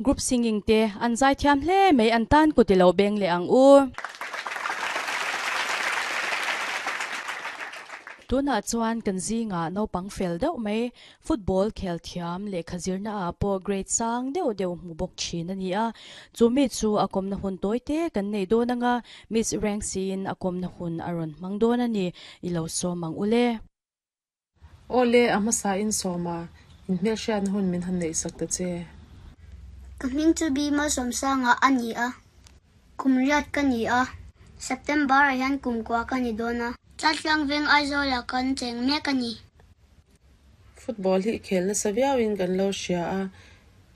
Group singing te an zaithiam hle mai an tan kut i lo beng leh ang u. Tunah chuan kan zingah naupang fel deuh mai football khel thiam lehkha zirna ah pawh grade sang deuh deuh hmu bawk thin a ni a. Chu mi chu a kawmna hun tawi te kan nei dawn anga Miss Rengsiin a kawmna hun a rawn hmang dawn a ni i lo sawm ang ule. Awle, a hmasa in sawm a, in hmelhriatna hun min han neihsak ta che. Ka hming chu Bima Sawmsanga a ni a, kum riat ka ni a, September ah hian kum kua ka ni dawn a. Tlatlang veng Aizawlah kan cheng mek a ni. Football hi i khel nasa viauin kan lo hria a,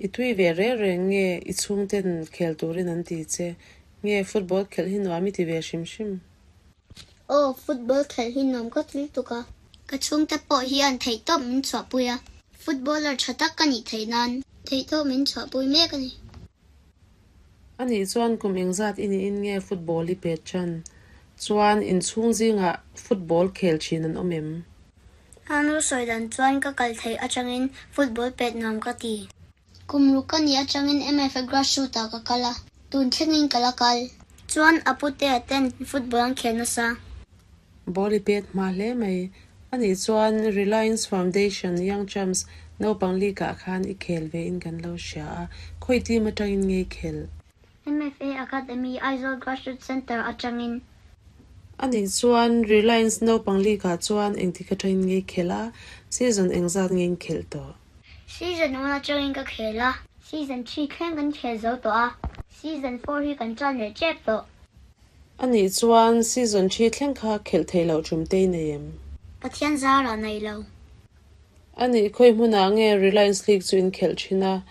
i tui ve reng reng nge i chhungten khel turin an ti che? Nge football khelh hi nuam i ti ve hrim hrim? Aw, football khelh hi nuam ka tlil tuk a. Ka chhungte pawh hian theihtawp min chhuahpui a, footballer tha tak ka nih theih nan theihtawp min chhuahpui mek a ni. Anih chuan kum engzat i niin nge football i pet tan? Chuan inchhung zingah football khel thin an awm em? Anu sawi dan chuan ka kal theih atangin football pet nuam ka ti. Kum ruk ka nih atangin MFA grassroot ah ka kal a, tun thlengin ka la kal. Chuan a putea ten football an khel nasa. Ball i pet hma hle mai. Anih chuan Reliance Foundation Young Champs naupang league ah khan i khel ve in kan lo hria a, khawi team atangin nge i khel? MFA Academy Aizawl Grassroots Centre atangin. Anih chuan Reliance naupang league ah chuan engtik atangin nge i khel a, season engzat nge in khelh tawh? Season 1 atangin ka khel a, season 3 thleng kan khel zo tawh a, season 4 hi kan tan leh tep tawh. Anih chuan season 3 thleng kha khelh theih loh tum te i nei em? Pathian zarah nei lo. Anih khawi hmunah nge Reliance League chu in khelh thin a,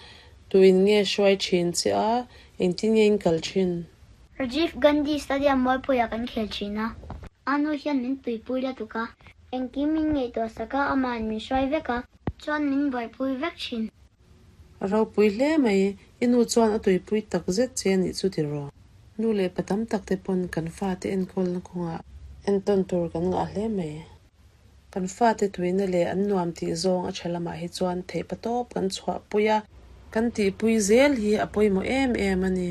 tuin nge hruai thin che a, engtin nge in kal thin? Rajiv Gandhi Stadium Mualpuiah kan khel thin a, a nu hian min tuipui lutuk a, engkim min ngaihtuah sak a, amahin min hruai vek a. Chuan min buaipui vek thin. A ropui hle mai, i nu chuan a tuipui tak zet che a nih chu tiraw? Nu leh pa tam tak te pawn kan fate enkawlna kawngah entawn tur kan ngah hle mai. Kan fate tuina leh an nuam tih zawng a tha lamah hi chuan theihpa tawp kan chhuahpui a, kan tihpui zel hi a pawimawh em em a ni.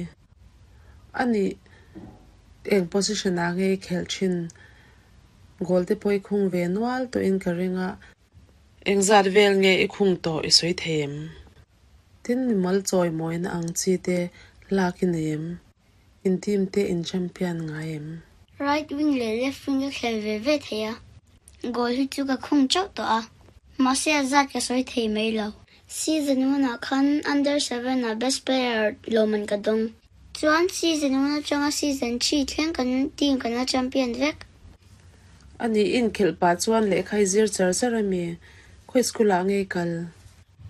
A nih eng position ah nge i khelh thin? Goal te pawh i khung ve nual tawhin ka ring a. Engzat vel nge i khung tawh i sawi thei em? Tin mimal chawi mawina ang chi te lak i nei em? In team te in champion ngai em? Right wing leh left wing ka khel ve ve thei a, goal hi chu ka khung chauh tawh a, mahse a zat ka sawi thei mai lo. Season 1 ah khan under 7 ah best player lawmman ka dawng. Chuan season 1 atanga season 3 thleng kan team kan la champion vek. A nih inkhelh pah chuan lehkha i zir char char a mi? Khawi school ah nge i kal?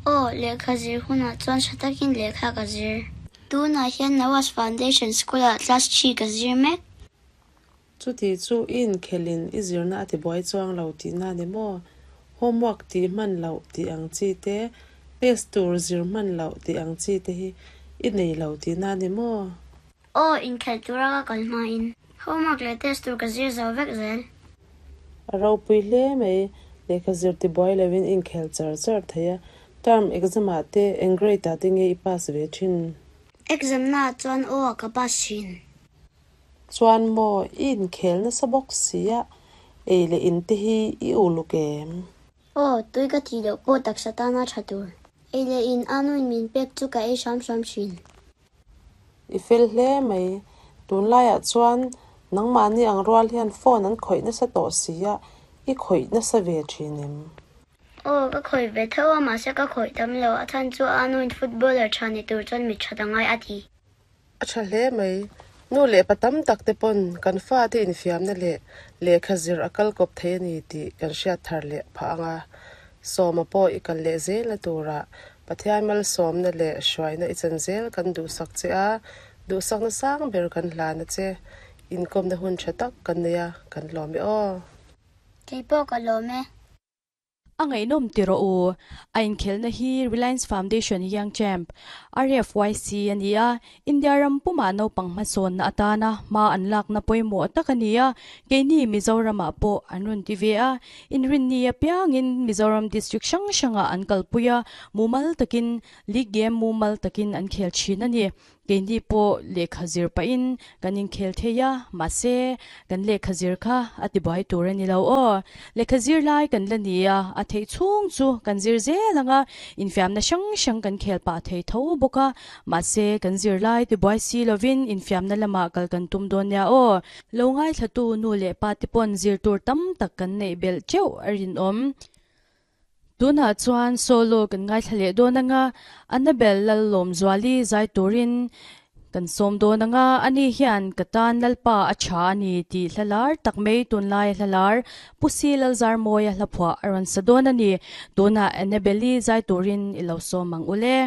Aw, lehkha zir hunah chuan tha takin lehkha ka zir. Tunah hian Nawaz Foundation School ah class 3 ka zir mek. Chuti chu i inkhelhin i zirna a tibuai chuang lo tihna a ni maw? Homework tih hman loh tih ang chi te, test tur zir hman loh tih ang chi te hi i nei lo tihna a ni maw? Aw, inkhelh tura ka kal hmain homework leh test tur ka zir zo vek zel. A ropui hle mai, lehkha zir tibuai lovin inkhelh char char thei a, term exam ah te eng grade ah te nge i pass ve thin? Exam na ah chuan aw ah ka pass thin. Chuan maw, i inkhel nasa bawk si a, ei leh in te hi i uluk em? Aw, tui ka tih loh pawh taksa tana tha tur. Ei leh in anuin min pek chu ka ei hram hram thin. I fel hle mai. Tunlaiah chuan nangmahni ang rual hian phone an khawih nasa tawh si a, i khawih nasa ve thin em? Aw, ka khawih ve tho a, mahse ka khawih tam lo. A chhan chu Anuin footballer tha ni tur chuan mit that a ngai a ti. A tha hle mai. Nu leh pa tam tak te pawn kan fate infiamna leh lehkha zir a kal kawp thei a ni tih kan hriat thar leh phah ang a. Sawma pawh i kal leh zelna turah Pathian malsawmna leh hruaina i chan zel kan duhsak che a, duhsakna sang ber kan hlan a che. Inkawmna hun tha tak kan nei a, kan lawm e aw. Kei pawh ka lawm e. A ngaihnawm ti rawh u. A inkhelhna hi Reliance Foundation Young Champ, RFYC, a ni a, India ram pumah naupang hmasawnna atana hma an lakna pawimawh tak a ni a, keini Mizoramah pawh an rawn ti ve a, inrinni apiangin Mizoram district hrang hrangah an kalpui a, mumal takin league game mumal takin an khel thin a ni. Keini pawh lehkha zir pahin kan inkhel thei a, mahse kan lehkha zir kha a tibuai tur a ni lo aw. Lehkha zir lai kan la ni a, a theih chhung chu kan zir zel ang a, infiamna hrang hrang kan khel pah thei tho bawk a, mahse kan zir lai tibuai si lovin infiamna lamah kal kan tum dawn nia aw. Lo ngaithlatu nu leh pa te pawn zir tur tam tak kan neih belh teuh a rinawm. Tunah chuan solo kan ngaithla leh dawn anga Annabel Lallawmzuali zai turin kan sawm dawn anga ani hian ka tan Lalpa a tha a ni tih hla lar tak mai tunlai hla lar Pu Si Lalzarmawia hlaphuah a rawn sa dawn a ni. Tunah Annabel-i zai turin i lo sawm ang ule.